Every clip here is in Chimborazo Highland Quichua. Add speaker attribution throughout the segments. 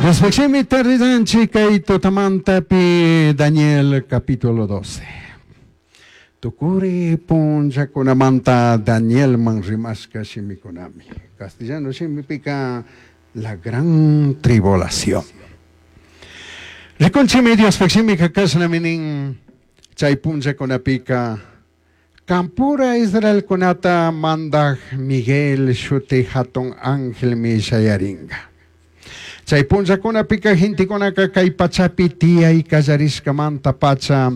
Speaker 1: Diospajshimita riranchik kay tutamantapi Daniel capítulo 12. Tukuri punllakunamanta Danielman rimashka shimikunami. Castellano shimipika la gran tribulación. Rikunchimi Diospaj shimika kashnami nin chay punllakunapika Campura Israelkunata mandaj Miguel shuti hatun angelmi shayaringa. Chay punllakunapika gentekunaka kay pachapi tiyay kallarishkamanta pacha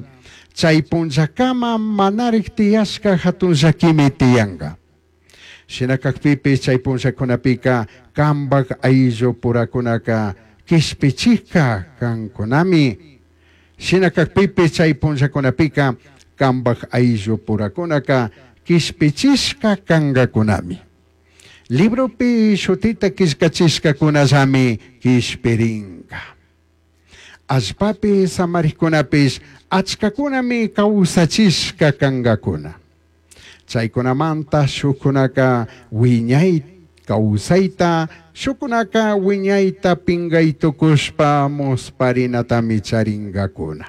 Speaker 1: chay punllakama manarik tiyashka hatun llakimi tiyanka. Shina kakpipish chay punllakunapika kambaj ayllupurakunaka kishpichishka kankunami. Shina kakpipish chay punllakunapika kambaj ayllupurakunaka kishpichishka kankakunami. Libropi shutita killkachishkakunallami kishpirinka. Allpapi samarikkunapish achkakunami kawsachishka kankakuna. Chaykunamanta shukkunaka wiñay kawsayta, shukkunaka wiñayta pingay tukushpa musparinatami charinkakuna.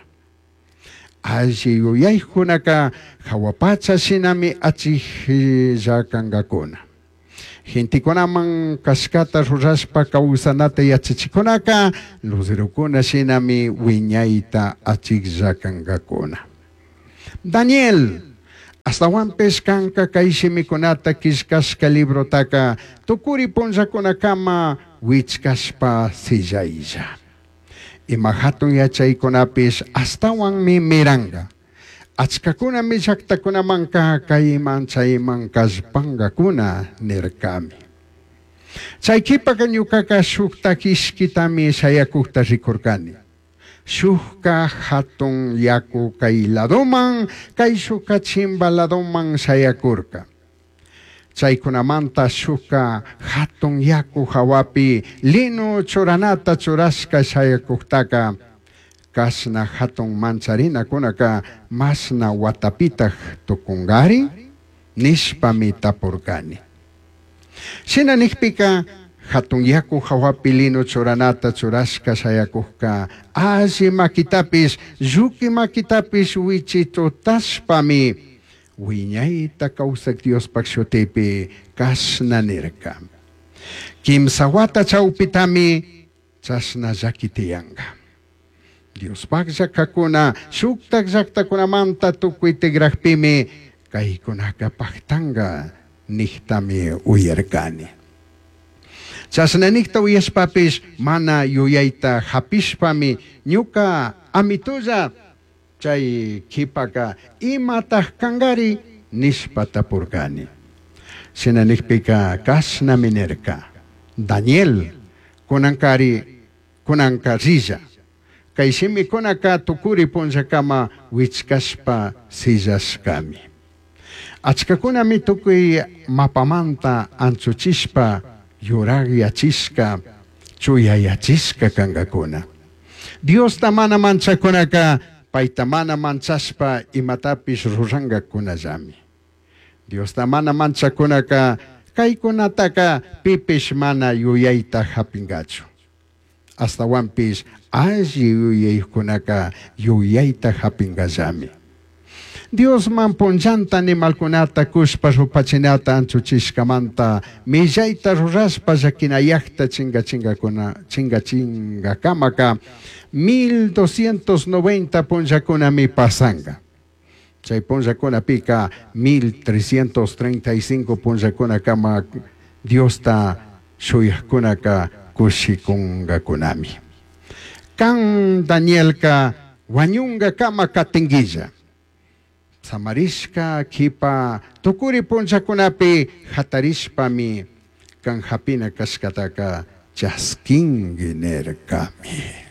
Speaker 1: Alli yuyaykunaka jahua pacha shinami achijlla kankakuna. Gentekunaman kashkata rurashpa kawsanata yachachikunaka luzerokuna shinami wiñayta achijlla kankakuna. Daniel, ashtahuanpish kanka kay shimikunata killkashka librotaka tukuri punllakunakama wichkashpa sillaylla. Ima hatun yachaykunapish ashtawanmi miranka. Achkakunami llaktakunamanka kayman chayman kallpankakuna nirkami. Chay kipaka ñukaka shuktak ishkitami shayakukta rikurkani. Shukka hatun yaku kay ladoman, kayshukka chimba ladoman shayakurka. Chaykunamanta shukka hatun yaku hawapi lino churanata churashka shayakuktaka kashna hatun mancharinakunaka mashna watapitaj tukunkari nishpami tapurkani. Shina nikpika hatun yaku hawapi lino churanata churashka shayakukka alli makitapish lluqui makitapish wichitutashpami wiñayta kawsak Diospaj shutipi kashna nirka. Kimsa wata chawpitami chashna llaki tiyanka. Diospaj llakakuna shuktak llaktakunamanta tukuy tigrajpimi kaykunaka paktanka niktami uyarkani. Chashna nikta uyashpapish mana yuyayta hapishpami ñuka amitulla chay kipaka imataj kankari nishpa tapurkani. Shina nikpika kashnami nirka. Daniel, kunankari kunanka rilla. Kay shimikunaka tukuri punllakama wichkashpa sillashkami. Achkakunami tukuy mapamanta anchuchishpa yurakyachishka chuyayachishka kankakuna. Diosta mana manchakunaka payta mana manchashpa imatapish rurankakunallami. Diosta mana manchakunaka kaykunataka pipish mana yuyayta hapinkachu. Ashtawanpish alli yuyaykunaka yuyayta hapinkallami. Diosman punllanta animalkunata kushpa rupachinata anchuchishkamanta millayta rurashpa llakinayakta chinkachingakuna chinkachinkakamaka 1290 punllakunami pasanka. Chay punllakunapika 1335 punllakunakama Diosta shuyakkunaka kushikunkakunami. Kan Danielka wañunkakama katinguilla. Samarishka kipa tukuri punllakunapi hatarishpami kan hapina kashkataka chaskinki nirkami.